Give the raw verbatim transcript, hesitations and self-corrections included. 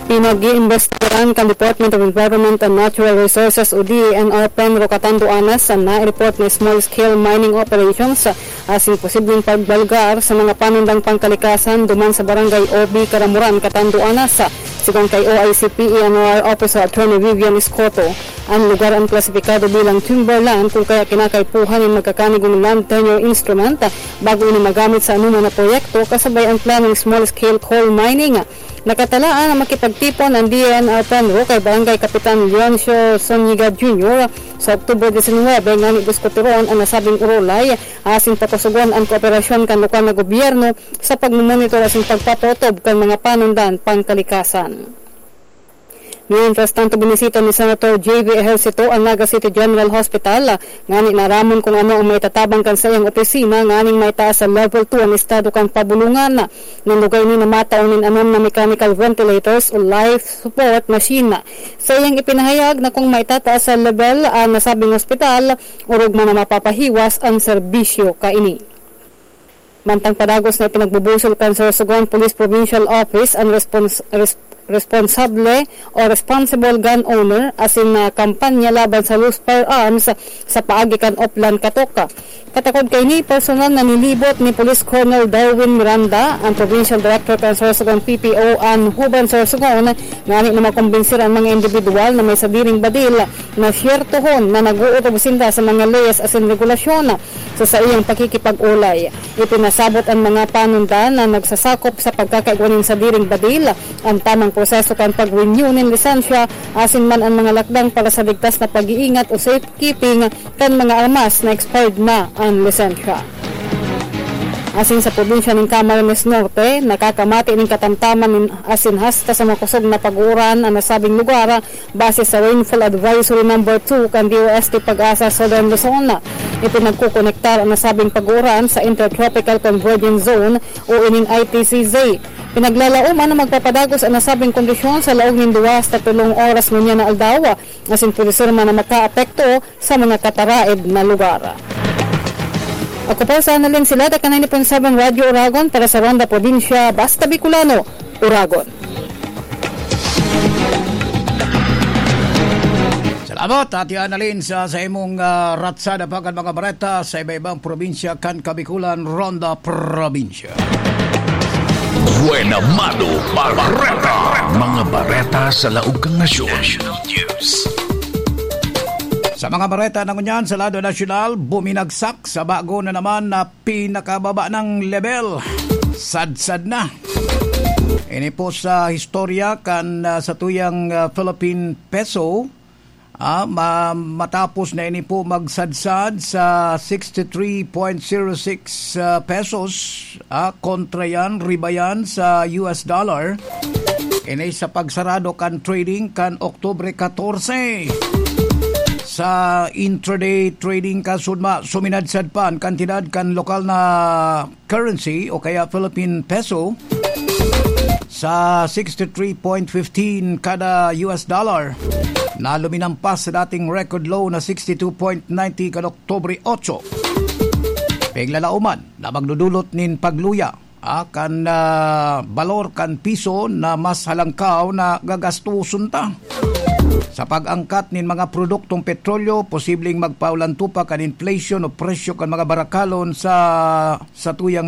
Pinag-iimbestigaran kan Department of Environment and Natural Resources o D E N R PENRO Catanduanes an nai-report na small-scale mining operations asin posibleng pagbalgar sa mga panundang pangkalikasan duman sa Barangay O B, Caramoran, Catanduanes, sigon kay O I C P E N R Officer Attorney Vivian Escoto. An lugar an klasipikado bilang timberland, kun kaya kinakaipuhan nin magkakanigo nin land tenure instrument bago ini magamit sa anoman na proyekto kasabay an planong small-scale coal mining. Nakatalaan na makipagtipon an D E N R PENRO kay Barangay Kapitan Leoncio Zuniga Junior sa Oktubre disinwebe ngani diskutiron an nasabing urulay asin pakusugon an kooperasyon kan lokal na gobyerno sa pagmomonitor asin pagpapatob kan mga panundan pangkalikasan. Mientras tanto, binisita ni Senator J V Ejercito ang Naga City General Hospital, ngani naaramon kung ano ang maitatabang kan saiyang opisina nganing maitaas sa level two an estado kan pabulungan. Nin lugar ini na matao nin anom na mechanical ventilators o life support machine. Sa iyang ipinahayag na kung maitataas sa level ang nasabing ospital, orog man na mapapahiwas ang serbisyo kaini. Mantang padagos na ipinagbubusol kan Sorsogon Police Provincial Office an respons-, res-, responsable o responsible gun owner asin na kampanya laban sa loose firearms sa paagi kan Oplan Katoka. Katakod kaini, personal na nilibot ni Police Colonel Darwin Miranda, ang Provincial Director kan Sorsogon P P O, an Huban Sorsogon, ngani na makumbensir an mga individual na may sadiring badil na syertohon na nag-oorog sinda sa mga leyes asin regulasyon. Sa saiyang pakikipag-olay, ipinasabot an mga panundan na nagsasakop sa pagkakaigwa nin sadiring badil, an tamang proseso kan pag-renew nin lisensya, asin man an mga lakdang para sa ligtas na pag-iingat o safekeeping kan mga armas na expired na an lisensya. Asin sa probinsya nin Camarines Norte, nakakamati nin katamtaman nin asin hasta sa makosog na pag-uuran an nasabing lugar, base sa Rainfall Advisory Number two kan D O S T PAGASA Southern Luzon. Ipinagkukonektar an nasabing pag-uuran sa Intertropical Convergence Zone o ining I T C Z. Pinaglalaoman na magpapadagos an nasabing kondisyon sa laog nin duwa hasta tolong oras ngunyan na aldaw, asin pwede man na makaapekto sa mga kataraed na lugar. Ako po sa Annalyn Silada, kan ninety point seven Radyo Oragon para sa Ronda Probinsya, Basta Bicolano, Oragon. Salamat, Ate Annalyn, sa, sa imong, ah, ratsada pa kan mga bareta sa iba-ibang probinsya kan Kabikulan, Ronda Probinsya. Buena Mano Bareta. Mga bareta sa laog kan nasyon. Sa mga bareta na ngunyan sa lado nasyonal, buminagsak sa bago na naman na pinakababa nang level. Sadsad na. Ini po sa historia kan, ah, satuyang, ah, Philippine peso, ah, ma-, matapos na ini po magsadsad sa sixty three point zero six, ah, pesos, ah, kontra yan, riba yan sa U S dollar. Ini sa pagsarado kan trading kan Oktubre katorse. Sa intraday trading kan Sudma, suminadsad pa an kantidad kan lokal na currency o kaya Philippine peso sa sixty three point fifteen kada U S dollar, na luminampas sa dating record low na sixty two point ninety kan Oktubre otso. Piglalauman na magdudulot nin pagluya, ah, kan, ah, balor kan piso na mas halangkaw na gagastoson ta. Sa pag-angkat nin mga produktong petrolyo, posibleng magpaulantupak an inflation o presyo kan mga barakalon sa, sa tuyang